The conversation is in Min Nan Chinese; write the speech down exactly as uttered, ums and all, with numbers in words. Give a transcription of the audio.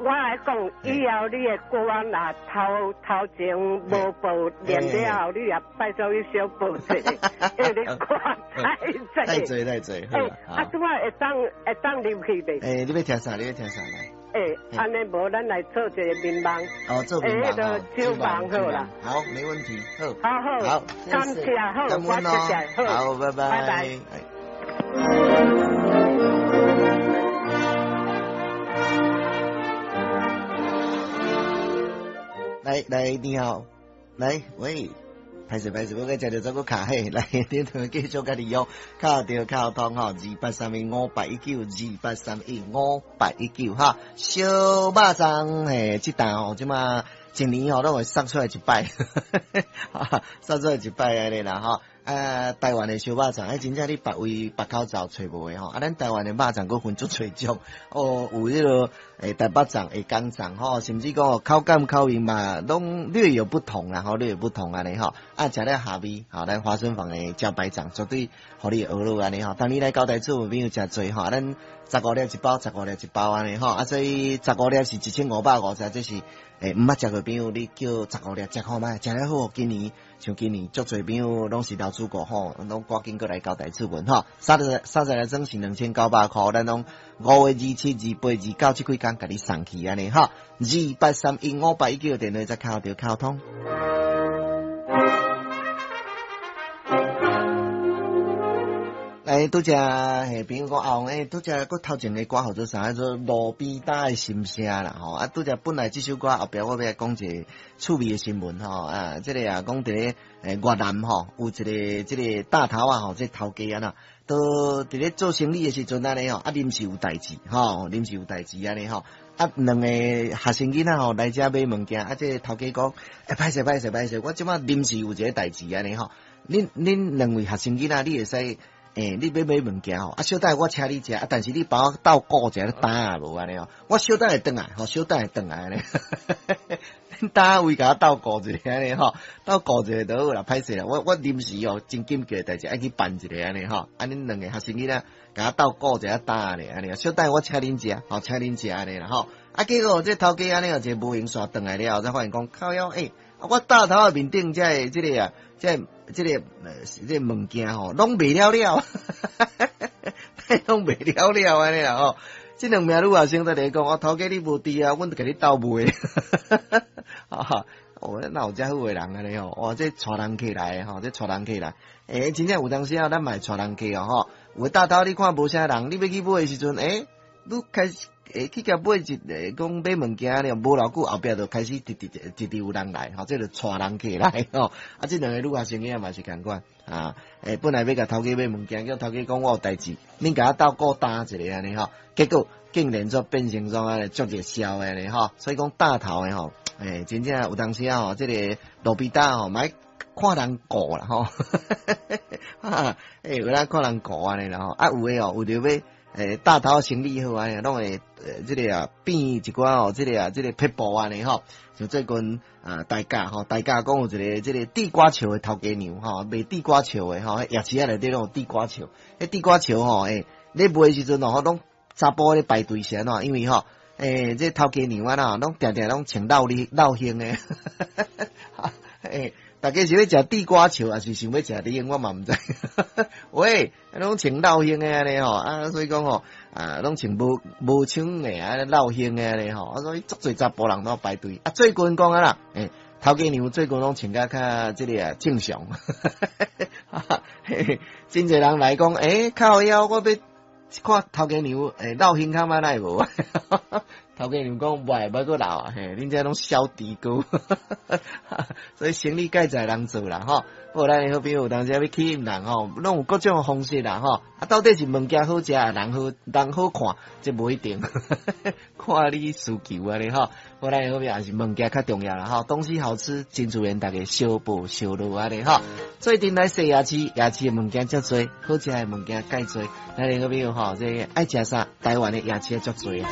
我來講，以後你的歌若頭頭前無報念了後，你也拜託你小報一下，因為你歌太濟。太濟太濟。欸，啊，這擺會當會當入去袂？欸，你欲聽啥？你欲聽啥來？欸，按呢無，咱來做一個眠夢。哦，做眠夢。欸，那個手夢好啦。好，沒問題。好。好好。好，感謝好，我謝謝好。好，拜拜。拜拜。來來，你好，來，喂，歹勢歹勢，我閣食著這個卡嘿，來，你同繼續佮你約，敲著敲通吼，二八三一五八一九，二八三一五八一九哈，燒肉粽嘿，這檔吼，這馬一年吼攏會送出來一擺，送出來一擺按呢啦吼。啊，台灣的燒肉粽，欸，真正你別位別口走揣無的吼。啊，咱台灣的肉粽閣分足濟種，哦，有彼個欸台北粽、下港粽吼，甚至講口感口味嘛，攏略有不同啦，吼，略有不同按呢吼。啊，食了下味，吼，咱華春坊的茭白粽絕對予你學落按呢吼。當你來交代厝朋友誠濟吼，咱十五粒一包，十五粒一包按呢吼。啊，所以十五粒是一千五百五十，這是欸毋捌食過朋友，你叫十五粒食看覓，食了好。今年像今年足濟朋友攏是老主顧吼，攏趕緊閣來交代出門吼。三十三十粒裝是兩千九百箍，咱攏五月二七、二八、二九這幾工共你送去按呢吼。二八三一五八一九電話再敲著敲通。來，拄才嘿朋友講阿王，欸，拄才閣頭前的歌號做啥？做路邊擔的心聲啦吼。啊，拄才本來這首歌後壁我欲來講一個趣味的新聞吼。啊，這個啊講佇咧越南吼，有一個這個大頭仔吼，這個頭家啊啦，都佇咧做生理的時陣按呢吼，啊臨時有代誌吼，臨時有代誌按呢吼。啊，兩個學生囡仔吼來遮買物件，啊，這個頭家講，欸，歹勢歹勢歹勢，我這擺臨時有一個代誌按呢吼。恁恁兩位學生囡仔，你會使。欸，你欲買物件吼，啊，小等我請你食，啊，但是你幫我鬥顧一下擔仔無按呢吼，我小等會轉來，吼，小等會轉來按呢，恁擔位共我鬥顧一下按呢吼，鬥顧一下就好啦，歹勢啦，我我臨時哦真緊急的代誌愛去辦一下按呢吼，啊，恁兩個學生囡仔共我鬥顧一下擔仔咧按呢，小等我請恁食，吼，請恁食按呢啦吼，啊，結果這頭家按呢，一個無閒煞轉來了後，才發現講靠腰，欸，我擔頭仔面頂這个這個啊，這個這個呃，這個物件吼，攏賣了了，攏賣了了按呢啦吼。這兩名女學生在咧講，我頭家你無佇啊，阮就共你鬥賣。哈，哦，哪有遮好的人按呢吼？哇，這帶人客來吼，這帶人客來。欸，真正有當時啊，咱嘛會帶人客哦吼。有的擔頭你看無啥人，你欲去買的時陣，欸，你開始欸去共買一个講買物件了，無偌久後壁就開始直直直直有人來，吼，這就帶人客來吼。啊，這兩個女學生囝嘛是仝款啊。欸，本來欲共頭家買物件，叫頭家講我有代誌，恁共我鬥顧擔一下按呢吼。結果竟然做變成創按呢足熱銷的按呢吼。所以講擔頭的吼，欸，真正有當時啊吼，這個路邊擔吼，嘛愛看人顧啦吼。欸，有影看人顧按呢啦吼。啊，有的哦，為著欲欸，擔頭生意好按呢，攏會呃，這個啊變一寡哦，這個啊，這個撇步按呢吼。像最近啊，大甲吼，大甲講有一個這個地瓜球的頭家娘吼，賣地瓜球的吼，夜市仔內底攏有地瓜球。彼地瓜球吼，欸，咧賣的時陣哦，攏查埔咧排隊是按怎？因為吼，欸，這頭家娘啊啦，攏定定攏穿落哩落胸的。欸，大家是欲食地瓜球，抑是想欲食你？我嘛毋知。喂，攏穿落胸的按呢吼，啊，所以講吼，啊，攏穿無無穿的啊，落胸的按呢吼，啊，所以足濟查埔人攏排隊。啊，最近講啊啦，欸，頭家娘最近攏穿甲較這個啊正常。真濟人來講，欸，靠腰，我欲看頭家娘，欸，落胸較歹奈無？頭家娘講，袂欲閣老啊，嘿，恁這攏小豬哥，所以生理蓋在人做啦吼。無咱的好朋友有當時欲吸引人吼，攏有各種方式啦吼。啊，到底是物件好食，人好人好看，這無一定，看你需求按呢吼。無咱的好朋友也是物件較重要啦吼，東西好吃，真自然逐家相報相落按呢吼。最近來踅夜市，夜市的物件足濟，好食的物件蓋濟。咱的好朋友吼，這個愛食啥？台灣的夜市足濟。